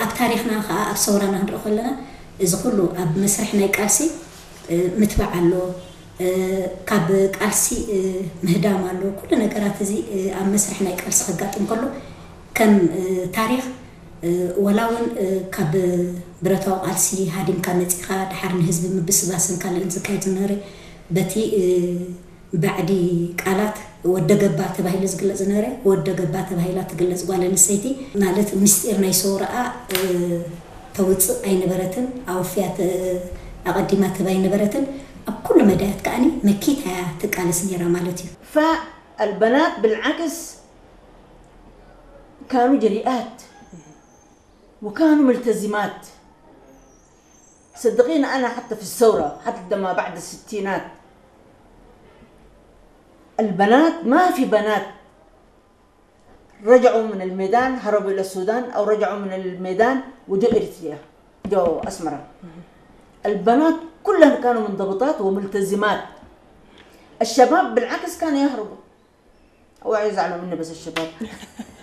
ኣብ ታሪኽና ከዓ ኣብ ሰውራና ክንርኢ ከለና እዚ ኩሉ ኣብ መስርሕ ናይ ቃልሲ ምትባዕ ኣሎ፣ ካብ ቃልሲ ምህዳም ኣሎ። ኩሉ ነገራት እዚ ኣብ መስርሕ ናይ ቃልሲ ከጋጥም ከሎ ከም ታሪኽ፣ ወላ እውን ካብ ብረታዊ ቃልሲ ሃዲምካ መፂኻ ድሓር ንህዝቢ ምብስባስን ካልእን ዝካየድ ዝነበረ በቲ ባዕዲ ቃላት ወደገባ ተባሂሉ ዝግለጽ ዝነበረ፣ ወደገባ ተባሂላ ትግለጽ ጓል ኣንስተይቲ ማለት ምስጢር ናይ ሰውራኣ ተውጽእ ኣይነበረትን፣ ኣወፍያ ኣቐዲማ ትህብ ኣይነበረትን። ኣብ ኩሉ መዳያት ከኣኒ መኪታ እያ ትቃለስ ነይራ ማለት እዩ። فالبنات بالعكس كانوا جريئات وكانوا ملتزمات. صدقيني، أنا حتى في الثورة، حتى لما بعد الستينات، البنات، ما في بنات رجعوا من الميدان، هربوا إلى السودان، أو رجعوا من الميدان وجو إريتريا، جو أسمرة. البنات كلهن كانوا منضبطات وملتزمات. الشباب بالعكس كانوا يهربوا. اوعوا يزعلوا مني بس الشباب.